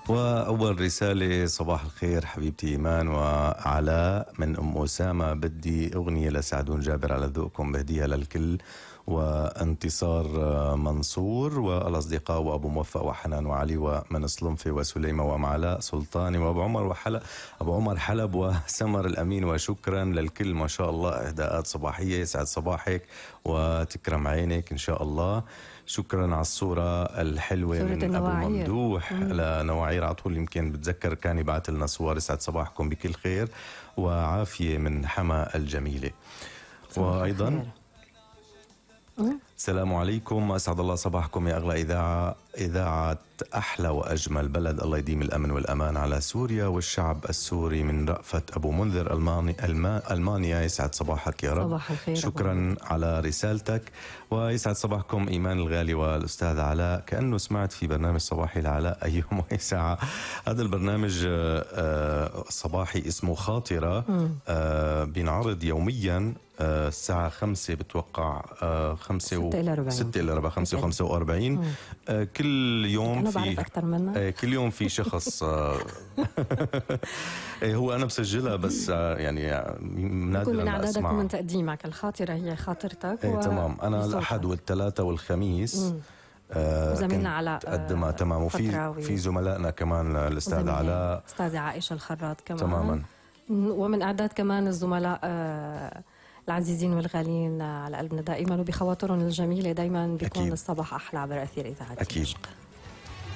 وأول رسالة: صباح الخير حبيبتي إيمان وعلاء من أم أسامة، بدي أغنية لسعدون جابر على ذوقكم بهديها للكل، وانتصار منصور والأصدقاء وأبو موفق وحنان وعلي ومن صلنفة وسليمة وأم علاء سلطاني وأبو عمر حلب وسمر الأمين. وشكرا للكل، ما شاء الله إهداءات صباحية. يسعد صباحك وتكرم عينك إن شاء الله. شكرا على الصورة الحلوة من أبو ممدوح لنواعير، على طول يمكن بتذكر كان يبعث لنا صور. يسعد صباحكم بكل خير وعافية من حما الجميلة. وأيضا السلام عليكم، أسعد الله صباحكم يا أغلى إذاعة أحلى وأجمل بلد، الله يديم الأمن والأمان على سوريا والشعب السوري. من رأفت أبو منذر ألمانيا. يسعد صباحك يا رب. صباح الخير. شكرا على رسالتك. ويسعد صباحكم إيمان الغالي والأستاذ علاء. كأنه سمعت في برنامج صباحي لعلاء أي يوم وأي ساعة. هذا البرنامج صباحي اسمه خاطرة، بينعرض يوميا الساعة 5 بتوقع 5 إلى ربع 5 و45 كل يوم. أنا بعرف أكثر منك. كل يوم في شخص هو أنا بسجلها بس يعني نادرا من أعدادك أسمع. ومن تقديمك الخاطرة هي خاطرتك. تمام. أنا الأحد والثلاثة والخميس وزميلنا علاء قدمها. تمام. وفي زملائنا كمان الأستاذ علاء، أستاذة عائشة الخراط كمان. تماما. ومن أعداد كمان الزملاء العزيزين والغاليين على قلبنا دائما، وبخواطرهم الجميلة دايما بيكون أكيد. الصباح أحلى عبر أثير إذاعة أكيد.